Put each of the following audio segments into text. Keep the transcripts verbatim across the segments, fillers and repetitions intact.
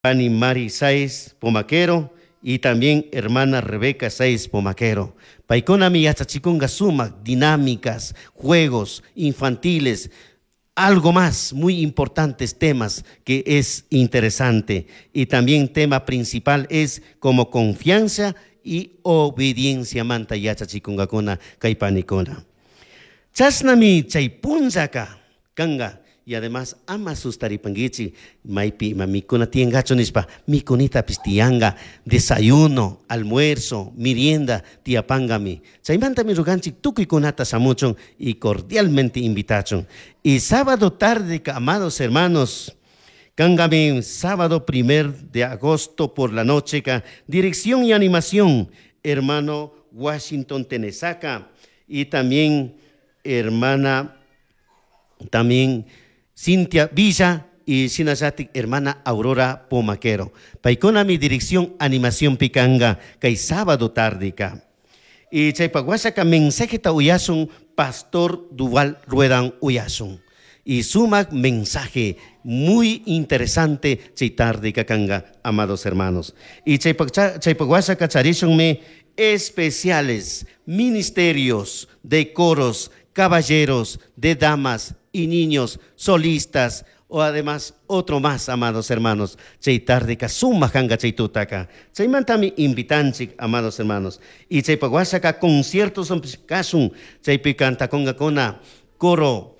Pani Mari Sáez Pomaquero y también hermana Rebeca Sáez Pomaquero. Paykunami yachachikunga sumak dinámicas, juegos infantiles, algo más muy importantes temas que es interesante. Y también tema principal es como confianza y obediencia manta yachachikungakuna kay panikuna. Chashnami chay punllaka kanga. Y además ama sustaripanguichi maypi ima mikuna tiyangachu nishpa mikunitapis tiyanga desayuno, almuerzo, merienda tiyapangami. Chaymantami ruganchik tukuykunata shamuchun y cordialmente invitachun. Y sábado tarde, amados hermanos, kangami sábado primer de agosto por la noche, ka, dirección y animación, hermano Washington Tenesaca y también hermana también Cintia Villa y shinallatik hermana Aurora Pomaquero. Paykuna mi dirección animación pikanga kay sábado tardeka. Y chaypak washaka mensajeta uyasun Pastor Duval Ruedan uyasun. Y sumak mensaje muy interesante chay tardeka kanga, amados hermanos. Y chaypak chaypak washaka charishunmi especiales, ministerios de coros, caballeros, de damas y niños, solistas, o además otro más, amados hermanos. Chay tardeka sumak kanga chay tutaka. Chaymantami invitanchik, amados hermanos. Y chaypak washaka conciertos kasun, chaypi cantakongakuna, coro,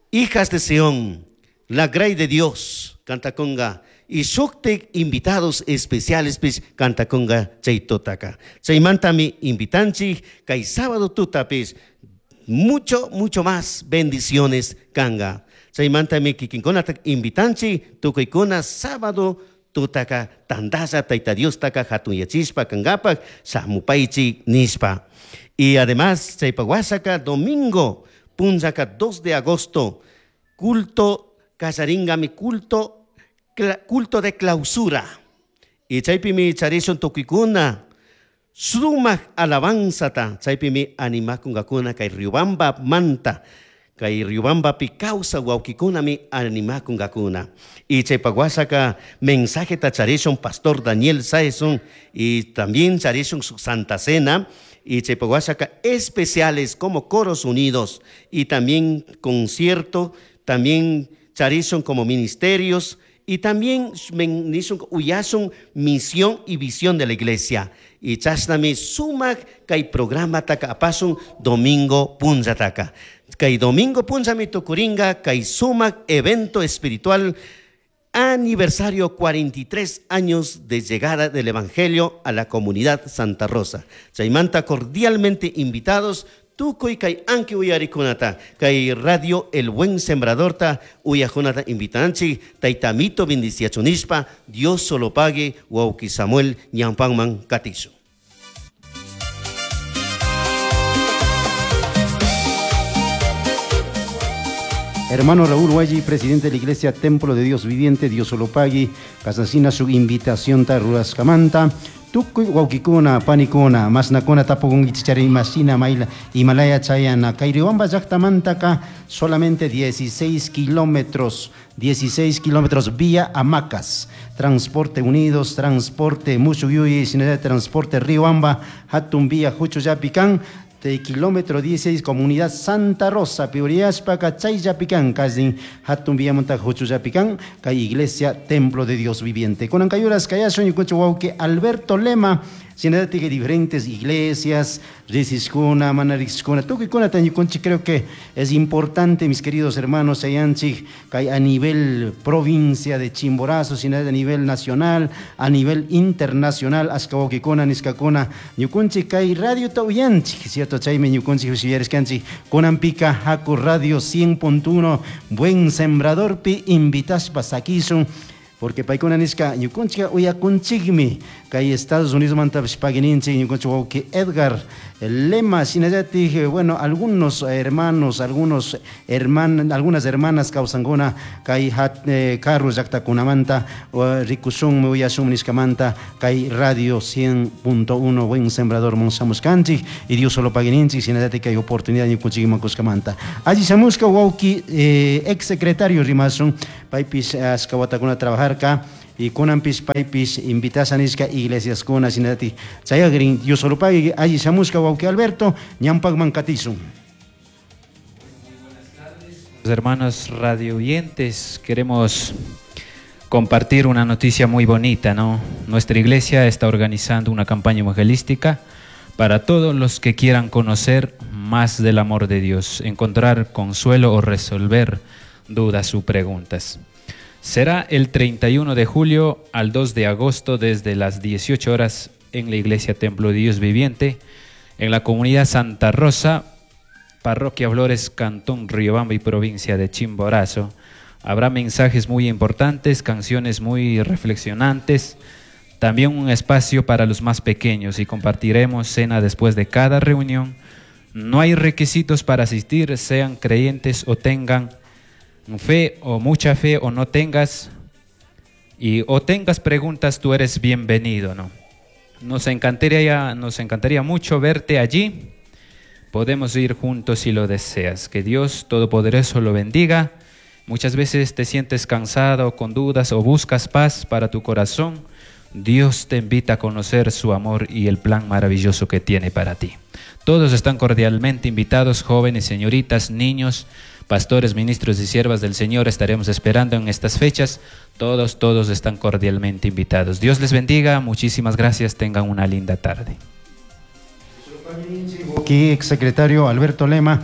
Hijas de Sión, la Grey de Dios, cantaconga. Y shuktik invitados especiales pis cantaconga chay tutaka. Chaymantami invitanchik, kay sábado tutapis, mucho, mucho más bendiciones kanga. Chaymantami kikinkunata invitanchi, tukuykuna sábado tutaka tandalla tayta Diostaka hatunyachishpa kangapak shamupaychi nishpa. Y además chaypak washaka domingo punllaka dos de agosto culto kallaringami culto culto de clausura. Y chaypimi charishun tukuykuna sumak alabanzata chaypimi animakunkakuna kay Riobamba manta kay Riobambapi kawsa wawkikunami animakunkakuna. Y chaypak washaka mensajeta charishun Pastor Daniel Saezun y también charishun su Santa Cena. Y chaypak washaka especiales como Coros Unidos y también concierto, también charishun como ministerios y también nishun uyasun misión y visión de la iglesia. Y chashnami sumak kay programa taka apasun domingo punllataka. Kay domingo punllami tukuringa kay sumak evento espiritual aniversario cuarenta y tres años de llegada del Evangelio a la comunidad Santa Rosa. Chaymanta cordialmente invitados tukuy kay anki uyarikunata kay radio El Buen Sembradorta uyajunata invitanchi taytamito bendiciachunishpa Dios solo pague wawki Samuel ñampanman katisu. Hermano Raúl Huaylli, presidente de la Iglesia Templo de Dios Viviente, Dios solo pague, kasasina su invitación ta ruraskamanta. Tukuy wawkikuna, panikuna, masnakuna tapukunkichari masina maila Himalaya chayana. Kay Riobamba llaqtamantaka solamente dieciséis kilómetros, dieciséis kilómetros vía Hamacas. Transporte Unidos, Transporte Musuyuy, Sinaloa, Transporte Riobamba, Hatun vía Juchuyapican, de kilómetro dieciséis, comunidad Santa Rosa, Piuriaspa, Cachayapicán, Cazin, Hatun Villamonta, Juchuyapicán, Kay Iglesia, Templo de Dios Viviente. Con Ancayuras, Cayasun, y Cucho Alberto Lema, Sinadati que diferentes iglesias, Riziscuna, Manarixcuna, Tuquicuna, Tañuconchi, creo que es importante, mis queridos hermanos, Ayanchi, que a nivel provincia de Chimborazo, Sinadati a nivel nacional, a nivel internacional, Ascaboquicona, Niscacona, Ñuconchi, Kay Radio Tauyanchi, cierto, Chaime, Ñuconchi, Jusillerescanchi, Conampica, Jaco Radio cien punto uno, Buen Sembrador, Pi, Invitaspa, Saquisun, porque paykuna nishka ñukunchika uyakunchikmi kay Estados Unidos mantapish pagininchik ñukunchik wawki Edgar Lema shinallatik, bueno, algunos hermanos, algunos herman, algunas hermanas kawsankuna kay hat, eh, carro llaqtakunamanta rikushunmi uyashunmi nishkamanta kay Radio cien punto uno Buen Sembrador monsamuskanchik y Dios solo pagininchik shinallatik kay oportunidad ñukunchikman kushkamanta alli shamushka wawki eh, ex secretario rimasun paypis ashka watakuna trabajarka Y kunanpis paypis invitasha nishka iglesiaskuna shinallatik chayagrin Diosolopagui alli shamushka wawki Alberto ñampakman katisun. Hermanos radio oyentes, queremos compartir una noticia muy bonita, ¿no? Nuestra iglesia está organizando una campaña evangelística para todos los que quieran conocer más del amor de Dios, encontrar consuelo o resolver dudas o preguntas. Será el treinta y uno de julio al dos de agosto desde las dieciocho horas en la Iglesia Templo de Dios Viviente, en la comunidad Santa Rosa, Parroquia Flores, Cantón Riobamba y provincia de Chimborazo. Habrá mensajes muy importantes, canciones muy reflexionantes, también un espacio para los más pequeños y compartiremos cena después de cada reunión. No hay requisitos para asistir, sean creyentes o tengan fe o mucha fe o no tengas y o tengas preguntas, tú eres bienvenido, ¿no? Nos encantaría, nos encantaría mucho verte allí. Podemos ir juntos si lo deseas. Que Dios Todopoderoso lo bendiga. Muchas veces te sientes cansado, con dudas o buscas paz para tu corazón. Dios te invita a conocer su amor y el plan maravilloso que tiene para ti. Todos están cordialmente invitados, jóvenes, señoritas, niños, pastores, ministros y siervas del Señor. Estaremos esperando en estas fechas. Todos, todos están cordialmente invitados. Dios les bendiga. Muchísimas gracias. Tengan una linda tarde. Aquí, exsecretario Alberto Lema,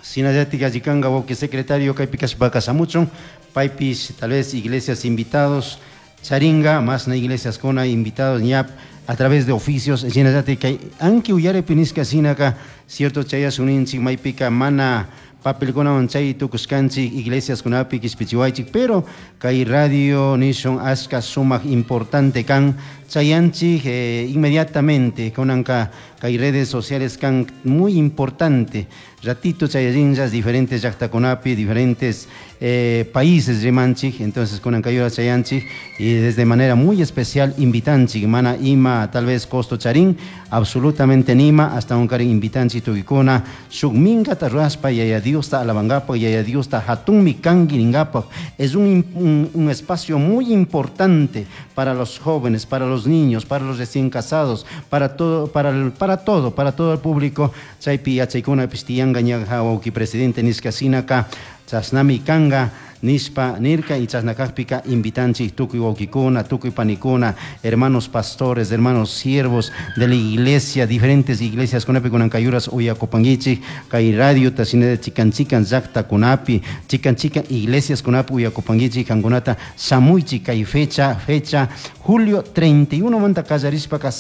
Sinayatika Yikanga, que secretario kaypi kashpaka shamuchun, paypis tal vez iglesias invitados, charinga, más na iglesias con invitados, ñap, a través de oficios, Sinayatika, anki uyare piniska sinaka, cierto chaya suninchik, maypika mana papelkunawan chay tukushkanchik iglesias kunapi kishpichiwaychik, pero kay radio nishun ashka sumak importante kan chayanchik, eh, inmediatamente kunanka kay redes sociales kan muy importante ratito chayallinllas diferentes llaqtakunapi diferentes, eh, países rimanchik, entonces kunanka yura chayanchik y desde manera muy especial invitanchik mana ima tal vez costo charín absolutamente nima hasta un karin invitanchik tukikuna shuk minkata ruaspa yaya Diosta alabangapaq yaya Diosta hatunmi kanki ningapaq. Es un, un, un espacio muy importante para los jóvenes, para los niños, para los recién casados, para todo, para el, para todo, para todo el público. Chaypi yachaykuna pishtiyanka ñaja wawki presidente nishka sinaka chasnami kanga nishpa nirka y chasnakajpika invitanchik tukuy wawkikuna, tukuy panikuna, hermanos pastores, hermanos siervos de la iglesia, diferentes iglesias kunapi kunankayuras uyakupankichik, kay radio tashinada chikan chikan llaqta kunapi, chikan chikan iglesias kunapi uyakupankichik, kankunata shamuychik kay fecha, fecha julio treinta y uno manta kallarishpaka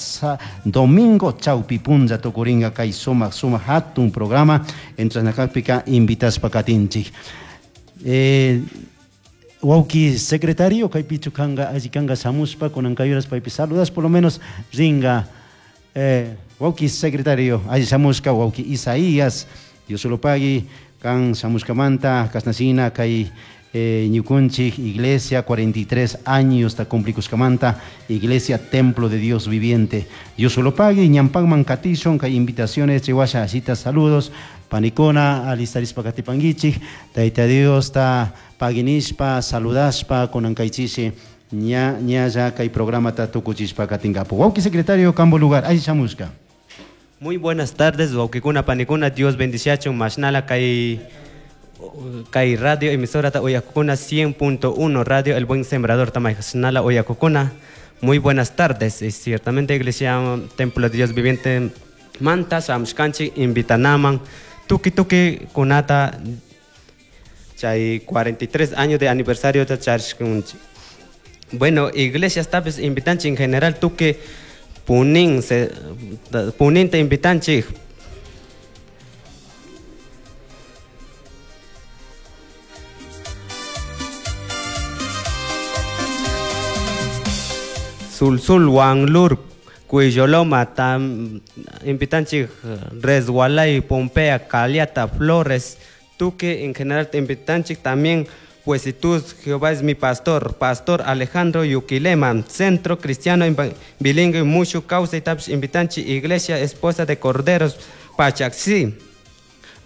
domingo chawpi punlla tukurinka kay sumak sumak hatun programa, entrasnakajpika invitaspa katinchik. Eh, wawki secretario kaypichu kanga alli kanga shamushpa kunankayuras paypi saludas por lo menos ringa. Eh, wawki secretario alli shamushka wawki Isaías Diosolopagui kan shamushkamanta kasnashina kay, eh, ñukunchik iglesia cuarenta y tres años ta cumplikushkamanta iglesia templo de Dios viviente Diosolopagui ñampakman katishun kay invitaciones chiwasha asita saludos panikuna alistarispa katipankichik Tayta Dios ta paginishpa saludashpa kunankaychishi ña ñalla kay programa ta tukuchishpa katinkapu. Wawki secretario kambo lugar alli shamushka. Muy buenas tardes wawkikuna panikuna Dios bendiciachun mashnala kay kay radio emisora ta uyakukuna cien punto uno radio El Buen Sembrador tamayjasnala uyakukuna. Muy buenas tardes. Es ciertamente Iglesia Templo de Dios Viviente Manta Samshkanchi invitanaman tuki tuki kunata chay cuarenta y tres años de aniversario de charshkunchi. Bueno, Iglesia tabes invitanchi en general tuki punin se punin te invitanchi. Sulsul Wanglur Cuilloloma tam invitanchi Resgualay Pompea Caliata Flores Tuque en general te invitanchi también pues si tú Jehová es mi pastor, pastor Alejandro Yuquilema, Centro Cristiano Bilingüe Mucho Causa y Taps invitanchi Iglesia Esposa de Corderos Pachaxi,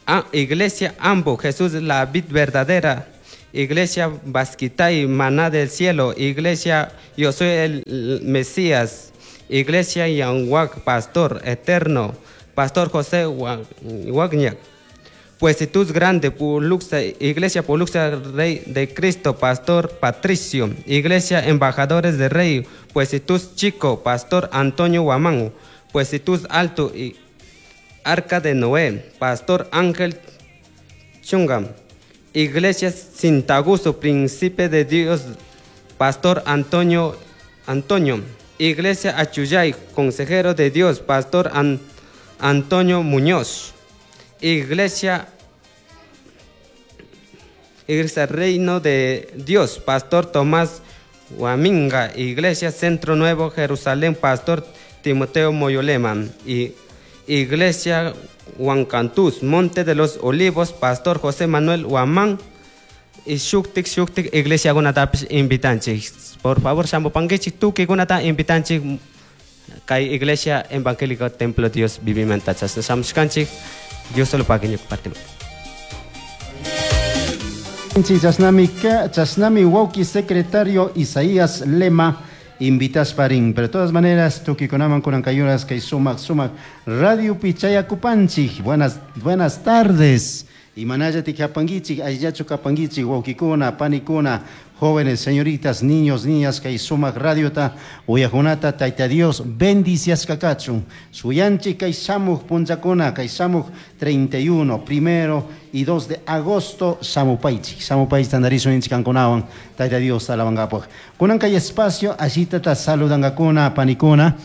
ah, Iglesia Ambo Jesús la vid verdadera Iglesia Basquitay, Maná del Cielo, Iglesia Yo Soy el Mesías, Iglesia Yanhuac, Pastor Eterno, Pastor José Wagniak, Puesitus Grande, Puluxa, Iglesia Puluxa Rey de Cristo, Pastor Patricio, Iglesia Embajadores de Rey, Puesitus Chico, Pastor Antonio Huamán, Puesitus Alto y Arca de Noé, Pastor Ángel Chungam, Iglesia Sintaguso, Príncipe de Dios, Pastor Antonio Antonio, Iglesia Achuyay, Consejero de Dios, Pastor An Antonio Muñoz, Iglesia Iglesia Reino de Dios, Pastor Tomás Huaminga, Iglesia Centro Nuevo Jerusalén, Pastor Timoteo Moyolema, y Iglesia Huancantús, Monte de los Olivos, Pastor José Manuel Huamán, y Shuktik Shuktik, Iglesia Gunatapis invitanchik. Por favor, shamupankichik, tuki gunata invitanchik, kay Iglesia Evangélica Templo Dios Vivimenta. Shamushkanchik, Dios solo pague parte. Chasnami, chasnami wauki secretario Isaías Lema invitas parín, pero de todas maneras tukikunaman kunankayuras kay sumak sumak Radio Pichaya Kupanchik. Buenas buenas tardes. Y manayati kapangichik, ayllachu kapangichik, wawkikuna, panikuna, jóvenes, señoritas, niños, niñas, kay sumak radiota, uyajunata, tayta Dios, bendicias kakachun. Suyanchik kay shamuj punchakuna, kay shamuj treinta y uno, primero y dos de agosto, shamupaychik. Shamupaychik tandarizo inchikankunawan, tayta Dios alabangapaj. Kunan kay espacio, allitata saludangakuna, panikuna.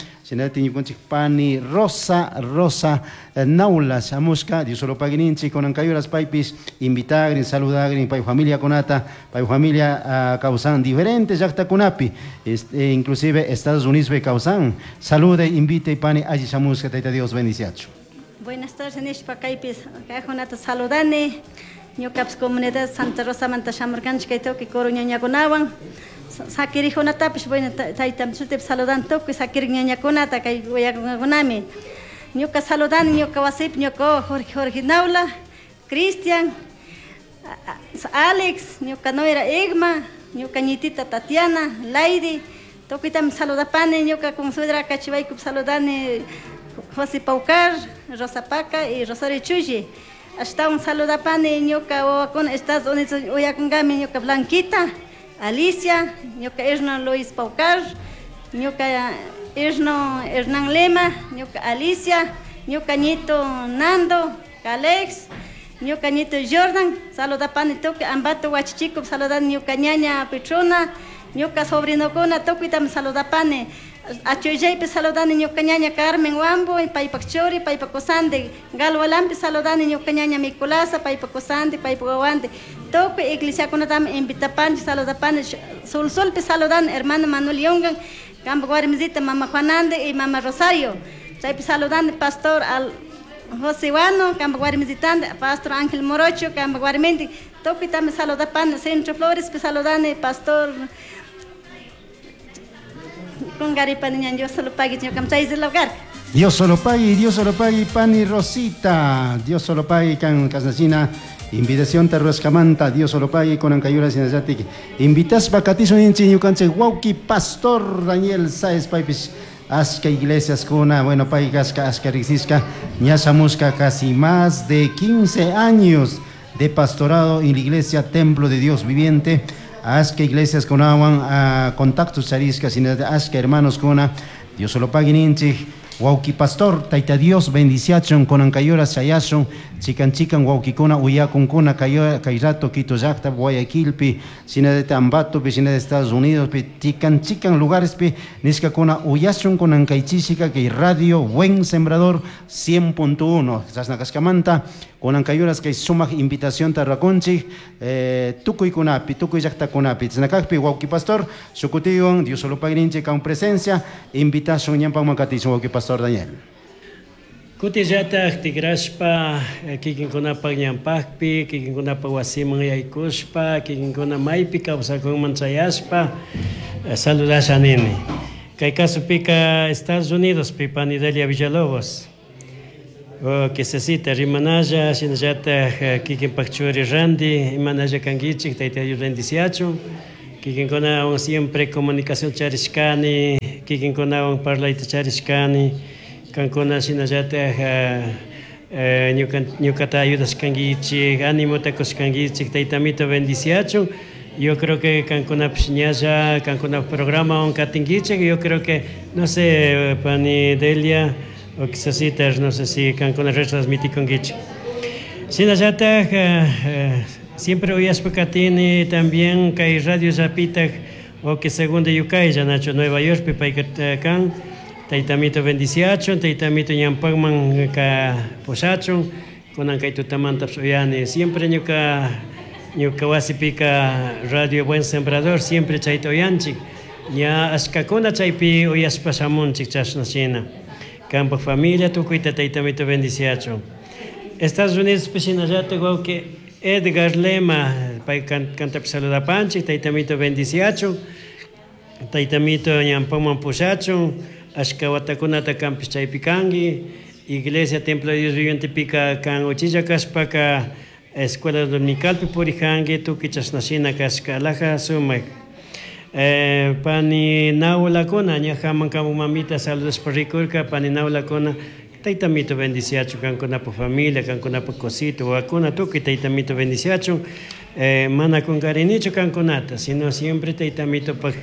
Pani Rosa, Rosa Naula, Samuska, Dios solo paguininchi, con ancayuras paipis, invitagrin, saludagrin, pay familia conata, pay familia uh, causan diferentes llaqtakunapi, este, inclusive Estados Unidos pe causan. Salude, invite, pani, allí Samuska, taita Dios bendiciacho. Buenas tardes, nishpa kaypis, kaykunata saludani, ñuqapas comunidad Santa Rosa manta shamurkanchik kay tukuy kuruñañakunawan. Sakirijunatapish, bueno, taytam sutip saludan tukuy sakirik ñañakunata kay uyakunami. Ñuqa saludani ñuqa wasipi ñuqa Jorge Jorge Naula, Cristian, Alex, ñuqa Noira Egma, ñuqa ñitita Tatiana, Lady, tukuytami saludapani, ñuqa con suegra kachiwaykup saludani José Paucar, Rosa Paca y Rosario Chulli. Ashtawan saludapani ñuqa wawakuna Estados Unidos uyakunkami ñuqa Blanquita, Alicia, ñuqa Hernán Luis Paucar, ñuqa Erno Hernán Lema, ñuqa Alicia, ñuqa ñito Nando, Calex, ñuqa ñito Jordan, saludapani tukuy Ambato Huachichico, saludani ñuqa ñaña Petrona, ñuqa sobrinokuna tukuytami saludapani. Achuyaypi saludani ñuqa ñaña Carmen Huambo, paypak churi, paypak kusandi, Galwalampi saludani ñuqa ñaña Micolasa, paypak kusandi, paypak wawandi. Tukuy iglesiakunatami invitapanchik, saludapani, Sulsulpi saludani hermano Manuel Yungan, kampak warmisita mama Juanande y mama Rosario. Chaypi saludani pastor al José Guano, kampak warmisitandi, pastor Ángel Morocho, kampak warmindi. Tukuytami saludapani, Centro Florespi saludani pastor Dios solo pague, Dios solo pague, Dios solo pague, pani Rosita. Dios solo pague, can Casnacina. Invitación terruescamanta, Dios solo pague, con ancayura sinayatik. Invitas bacatizo ninchi ñukanche wauki pastor Daniel Sáez Paipis. Asca iglesias kuna, bueno, paigasca, asca rixisca, ñasamusca casi más de quince años de pastorado en la iglesia Templo de Dios Viviente. Asca iglesias con awan a contactos charisca sin asca hermanos con Dios solo pague ninchi wauki pastor taita Dios bendiciachon con ancayora chayashon chican chican wauki kuna uyakunkuna kay rato Quito llaqta Guayaquilpi sina de Ambato pi sina de Estados Unidos pi chican chican lugares pi niskakuna uyashun con ancaychisika kay radio Buen Sembrador cien punto uno chasna con ancayuras kay sumaq invitación tarrakunchik eh, tukuykunapi tukuy llaqtakunapi chasnakaqpi wauki pastor sukutiwan Dios solo pague con presencia invitación ñanpanman katichun wauki pastor Daniel. Kutillata tigrashpa kikinkunapaq ñanpaqpi kikinkunapaq wasiman yaykushpa kikinkuna maypi kawsakunman chayashpa saludasha nini. Kay kasupika Estados Unidos pi pani Delia Villalobos. Que se rimanalla, shinallata kikinpak churi Randy, imanalla kankichik, tayta Dios bendiciachun. Kikinkunawan siempre comunicación charishkani, kikinkunawan parlayta charishkani, kankuna shinallata ñukata ayudashkankichik, animota kushkankichik, taytamito bendiciachun. Yo creo que kankunapish ñalla, kankuna programa katinkichik, yo creo que, no sé, pani Delia, o quizás no sé si kankuna retransmitikunkichik. Shinallata siempre uyashpa katini también kay radio Zapitak o que segunda yukaylla nacho Nueva York pi payka kan taytamito bendiciachun, taytamito ñampakman ka pushachun, kunan kay tutamantapish uyani. Siempre ñuka ñuka wasipika Radio Buen Sembrador siempre chayta uyanchik. Ña ashkakuna chaypi uyashpa shamunchik chashna shina. Kampak familia tukuyta taytamito bendiciachun. Estados Unidos shinallata wawki Edgar Lema, pay kantapish saludapanchik, taytamito bendiciachun, taytamito ñampaman pushachun, ashka watakunata kanpish chaypi kanki, Iglesia Templo de Dios Vivientepika kan uchilla kashpaka Escuela Dominicalpi purijanki, tukuy chashna shina kashka alhaja sumak. Eh, pani Naulakuna, ñajaman kamu mamita saludashpa rikurka, pani Naulakuna, taytamito bendiciachun, kankunapa familia, kankunapa cosito, wawakuna, tukuy taytamito bendiciachun. Eh, mana kunkarinichu kankunata, sino siempre taytamitopak,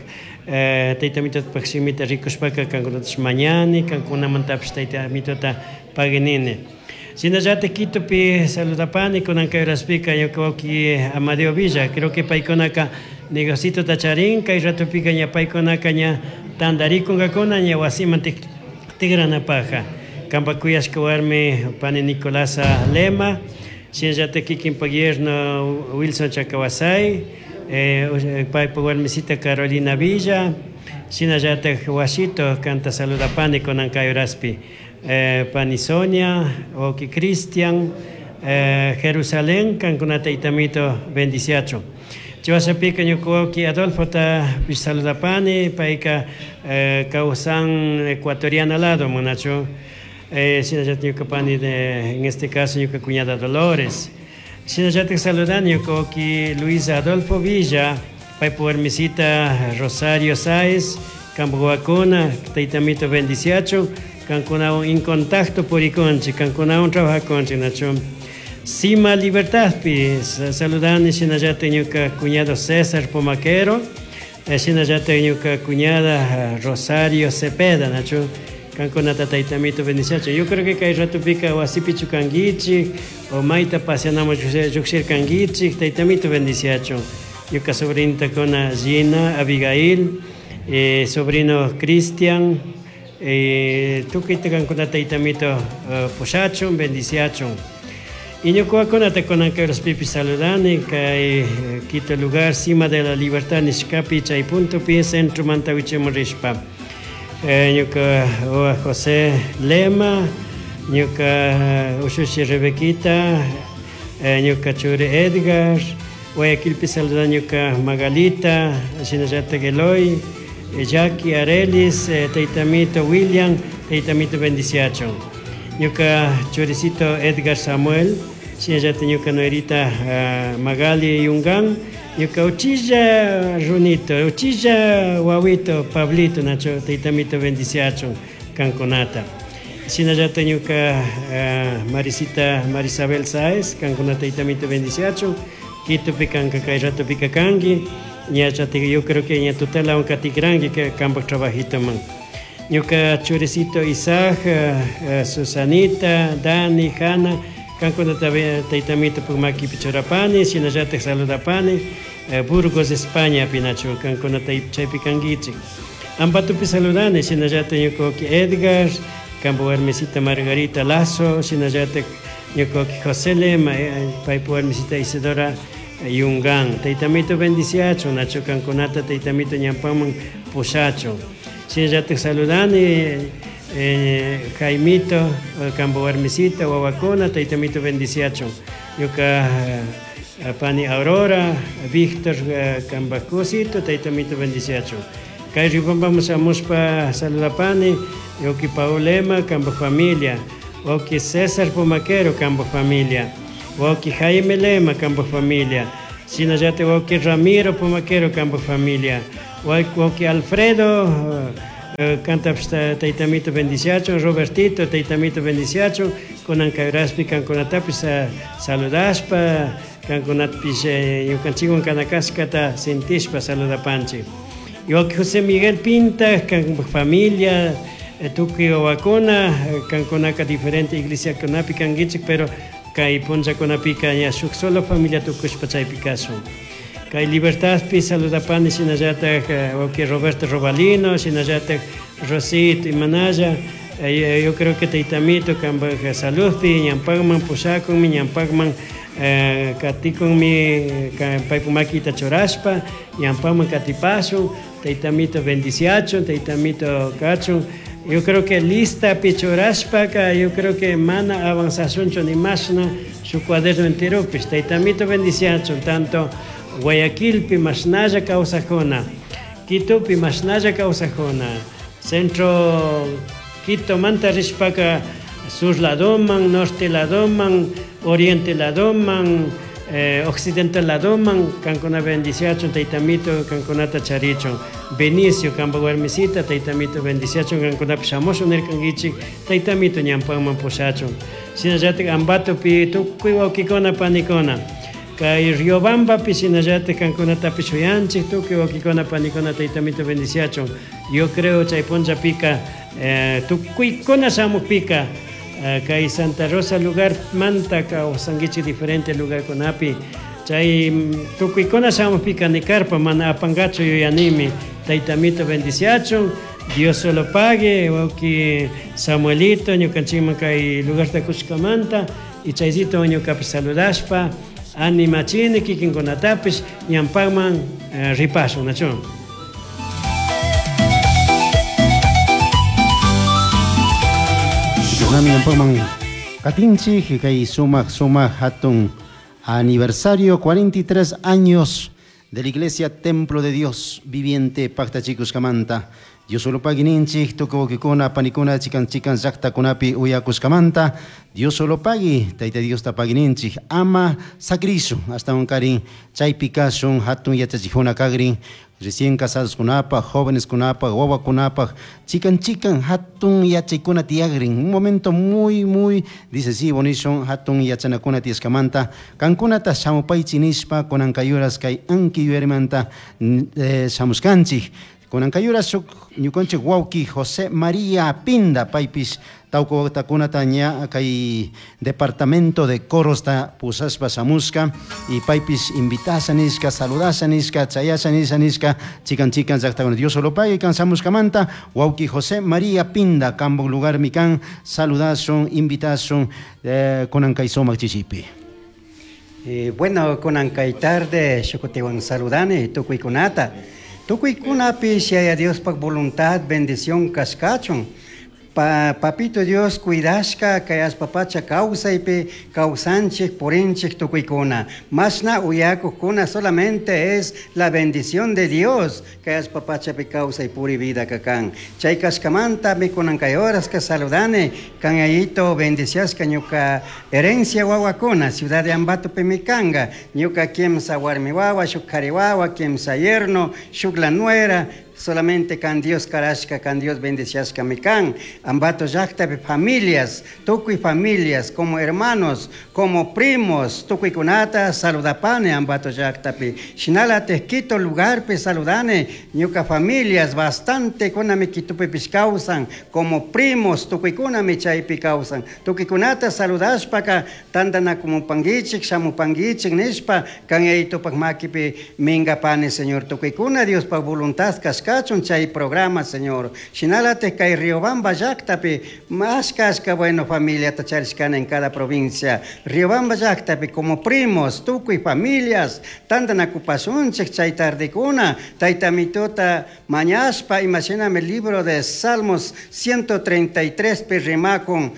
eh, taytamitopak shimita rikushpaka kankunatash mañani, kankunamantapish taytamitota paginini. Shinallata Quitopi saludapani kunan kay horaspika ñuka wawki Amadeo Villa, creo que paykunaka negocito charin, kay ratopika ña paykunaka ña tandarikunkakuna ña wasiman tigranapaja. Kampak kuyashka warmi pani Nicolasa Lema, shinallata kikinpak yerno Wilson Chacawasay, eh, paypak warmisita Carolina Villa, shinallata Washito kanta saludapani kunan kay horaspi. Eh, pani Sonia, wawki Cristian, eh, Jerusalén, kankuna taytamito bendiciachun. Chiwashapika ñuka wawki Adolfota saludapani, payka eh, kawsan ecuatoriana lado, manachu. Eh, shinallata ñuka pani de, en este caso ñuka cuñada Dolores. Shinallata saludani ñuka wawki Luisa Adolfo Villa, paypa warmisita Rosario Sáez, kampak wawakuna, taytamito bendiciachun, kankunawan en contacto purikunchik, kankunawan trabajakunchik, nachu. Cima Libertadpi saludani shinallata ñuka cuñado César Pomaquero, shinallata ñuka cuñada Rosario Cepeda, nachu. Kankunata taytamito bendiciachun. Yo creo que kay ratopika wasipichu kankichik, o mayta paseanamo lluqshirkankichik, taytamito bendiciachun. Ñuka sobrinita kuna Gina, Abigail, eh, sobrino Cristian, eh, tukuyta kankunata taytamito uh, pushachun, bendiciachun. Y ñuka wawakunata kunan kay horaspipi saludani, kay Quito lugar, Cima de la Libertad, nishkapi, chay puntopi, centro manta wichimun rishpa. Eh, ñuka wawa José Lema, ñuka ushushi Rebequita, eh, ñuka churi Edgar, Guayaquilpi saludani ñuka Magalita, shinallata Eloy, Jackie Arelis, eh, taytamito William, taytamito bendiciachun. Ñuka churicito Edgar Samuel, shinallata ñuka nuerita uh, Magali Yungan, ñuka uchilla runito, uchilla wawito Pablito, nacho taytamito bendiciachun kankunata. Shinallata ñuka uh, Marisita Marisabel Sáez, kankunata taytamito bendiciachun, Quitopi kanka kay ratopika kanki, ña chati, yo creo que ña tutela katikranki kampak trabajito man. Ñuka churicito Isaac, uh, Susanita, Dani, Hanna, kankunata taytamito puk makipi churapani, shinallata saludapani, eh, Burgos, España, pinachu, kankunata chaypi kankichik. Ambatopi saludani, shinallata ñuka wawki Edgar, kampa warmisita Margarita Lazo, shinallata ñuka wawki José Lema, eh, paypa warmisita Isidora Yungan. Taytamito bendiciachun, nachu kankunata taytamito ñampaman pushachun. Shinallata saludani, eh, Jaimito, kampa warmisita, wawakuna, taytamito bendiciachun. Ñuka pani Aurora, Víctor, kampa cosito, taytamito bendiciachun. Kay ripampamo shamushpa saludapani, wawki Paulema, kampa familia, Wauki César Pumaquero kampa familia, wauki Jaime Lema kampa familia, shinallatik wauki Ramiro Pumaquero kampa familia, wauki Alfredo kantapish taytamito bendiciachun, Robertito taytamito bendiciachun, kunan kay uraspi kankunatapish saludashpa, kankunatapish ñukanchikwan kanakashkata sintishpa saludapanchik. Wauki José Miguel Pinta kanpa familia, tukuy wawakuna, kankunaka diferente iglesiakunapi kankichik, pero kay punllakunapika ña shuk solo familia tukushpa chaypi kashun. Kay Libertadpi saludapani shinallatak wauki Roberto Robalino, shinallatak Rosito Imanaya, yo creo que taytamito kanpak saludpi ñampakman pushakunmi, ñampakman katikunmi paypak makita churashpa, ñampakman katipashun, taytamito bendiciachun, taytamito kachun. Yo creo que listapi churashpaka, yo creo que mana avanzashunchu ni mashna shuk cuaderno enteropish, taytamito bendiciachun, tanto Guayaquilpi mashnalla kawsakuna, Quitopi mashnalla kawsakuna, centro Quito manta rishpaka sur ladoman, norte ladoman, oriente ladoman, eh, occidente ladoman, kankuna bendiciachun, taytamito kankunata charichun, Benicio kanpa warmisita, taytamito bendiciachun, kankunapish shamushun nirkankichik, taytamito ñampakman pushachun. Shinallatik Ambatopi tukuy wawkikuna panikuna, kay Riobambapi shinallatik kankunatapish shuyanchik, tukuy wawkikuna panikuna taytamito bendiciachun. Yo creo chay punllapika eh, tukuykuna shamukpika eh, kay Santa Rosa lugar manta kawsankichik diferente lugarkunapi, chay tukuykuna shamukpika nikarpa mana apankachu yuyanimi, taytamito bendiciachun, Dios solo pague, wawki Samuelito ñukanchikman kay lugarta kushkamanta, y chayllito ñukapish saludashpa animachini kikinkunatapish ñampakman eh, ripashun, nachu. Nami ñampakman katinchik kay sumak sumak hatun aniversario cuarenta y tres años de la Iglesia Templo de Dios Viviente Pactachikushkamanta. Dios solo pagui ninchik, tukuy wawkikuna, panikuna, chikan chikan llaqtakunapi uyakushkamanta. Dios solo pagui, Tayta Dios ta pagui ninchik, ama sakrisu, hasta un karin chaypi kashun, hatun yachachikuna kagrin, recién casados kunapaj, jóvenes kunapaj, wawakunapaj, chikan chikan hatun yachaykuna tiyagrin. Un momento muy, muy decisivo nishun, hatun yachanakuna tiyashkamanta. Kankunata shamupaychi nishpa, kunan kayuras kay anki yuyarimanta, eh, shamushkanchik. Kunan kayuras shuk ñukanchik wawki José María Pinda paypish tawka wawtakunata ña kay departamento de coros ta pusashpa shamushka y paypish invitasha nishka, saludasha nishka, chayasha nisha nishka, chikan chikan llaqtakuna. Dios solo pague kan shamushkamanta wawki José María Pinda kambo lugar mikan saludashun, invitashun, eh, kunan kay sumak chishipi. Eh, bueno, kunan kay tarde shukutiwan saludani tukuykunata. Tukuykunapish yaya Diospaj voluntad, bendición kashkachun. Pa, papito Dios cuidashka kay allpapacha kawsaypi kawsanchik purinchik tukuykuna. Mashna uyakukuna solamente es la bendición de Dios kay allpapachapi kawsay puri vida kakan. Chay kashkamanta mikunan kay horas ka saludane kan ayito bendiciashka ñuka herencia wawakuna ciudad de Ambato pimikanga ñuka kimsa warmi wawa shuk kari wawa kimsa yerno shuk la nuera. Solamente kan Dios karashka, kan Dios bendiciashka mikan. Ambato llaqtapi familias, tukuy familias, como hermanos, como primos, tukuy kunata saludapane Ambato llaqtapi. Shinalate Quito lugarpi saludane, ñuka familias bastante kunami Quitopi kawsan, como primos, tukuy kunami chaypi kawsan. Tukuy kunata saludashpaka, tantanakumunpankichik, shamupankichik nishpa, kan yayitupak makipi minkapane, Señor. Tukuy kuna Diospaj voluntad kashka kachun chay programa, Señor. Shinalate kay Riobamba llaqtapi, más kashka bueno familia tacharishkana en cada provincia. Riobamba llaqtapi como primos, tukuy familias, tantanakupasunchik chay tardekuna, taytamituta mañashpa, imashinami libro de Salmos ciento treinta y tres pi rimakun,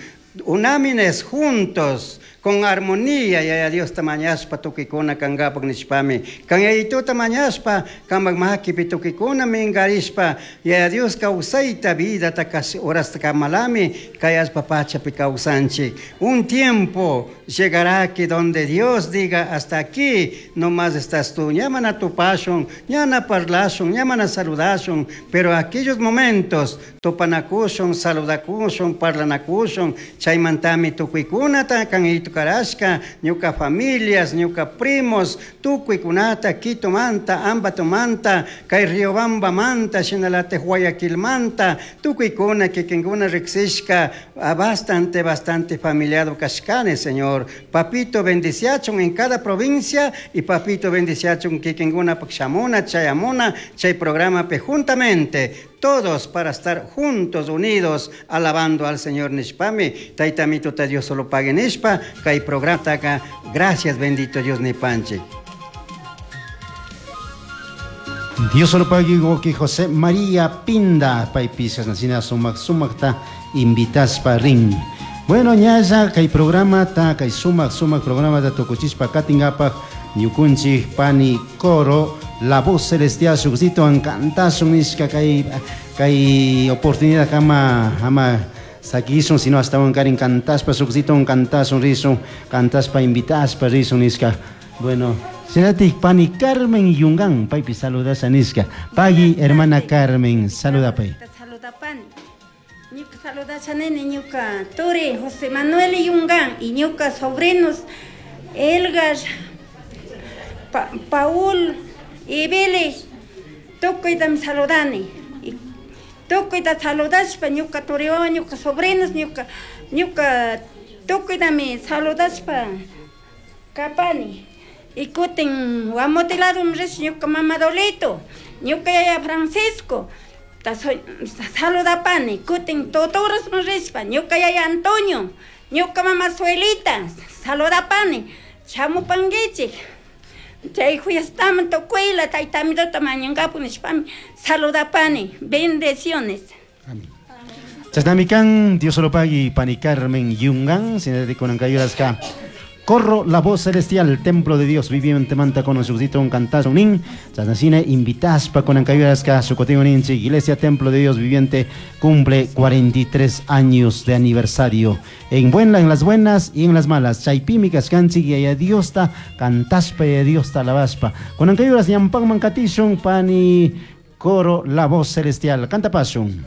Unámines juntos, con armonía, yaya Dios tamañaspa tukikuna kangapak nishpami. Kan yayituta mañaspa, kamak makipi tukikuna mingarishpa, yaya Dios kawsayta vida ta horasta kamalami, kayaspa pachapi kawsanchik. Un tiempo llegará que donde Dios diga hasta aquí, no más estás tú, ñamana tupashun, ñana parlashun, ñamana saludashun, pero aquellos momentos, tupanakushun, saludakushun, parlanakushun, chaymantami tukuykunata kan karashka, ñuka familias, ñuka primos, tukuykunata, Quitomanta, Ambatomanta, kay Riobambamanta, shinalate Guayaquilmanta, tukuykuna kikinkuna riksishka, bastante, bastante familiado kashkani, Señor. Papito bendiciachun en cada provincia y papito bendiciachun kikinkuna pakshamuna, chayamuna, chay programa pe juntamente, todos para estar juntos, unidos, alabando al Señor nishpami. Taytamito ta Dios solo pague nishpa, kay programa taka. Gracias, bendito Dios nipanchi. Dios solo pague que José María Pinda, paypisas nacina sumak sumakta invitaspa rin. Bueno, ñalla kay programa ta kay sumak sumak programa ta tukuchispa katingapaj ñukunchik pani coro La Voz Celestial sukzito cantasun nishka kay kay oportunidad kama ama sakisun sino hasta un karin cantaspa sukzito cantasun risun cantaspa invitaspa risun nishka. Bueno, Senatik pani Carmen Yungan paypi saludasa nishka. Pagui hermana Carmen saluda pay. Saluda pani. Ñuka saludasa nene ñuka turi José Manuel Yungan y ñuka sobrinos Elgar Pa Paul y Billy, tukuytam saludani. Tukuyta saludashpa ñuka turiwawa, ñuka sobrinos, ñuka ñuka tukuytami saludashpa kapani. Y kutin wamotiladum rish ñuka mama Dolito, ñuka yaya Francisco, ta saludapani. Kutin totorasman rishpa ñuka yaya Antonio, ñuka mama Suelita, saludapani. Chamupanguichik. Chay fiestaman tukuyla taytamituta mañankapu nishpami saludapani. Bendiciones. Amén. Chasnamikan, Dios solo pagui, pani Carmen Yungan, sinadikunankayuraska. Corro la voz celestial, templo de Dios viviente manta con un cantazo nin. Chasnasine invitaspa con ancayuraska, sucoteo ninchi, Iglesia Templo de Dios Viviente cumple cuarenta y tres años de aniversario. En buena, en las buenas y en las malas. Chaypimi kaskanchi y a Dios ta cantaspa y a Dios ta alabaspa. Con ancayuras ñampan mancatishun pani coro la voz celestial. Canta pasun.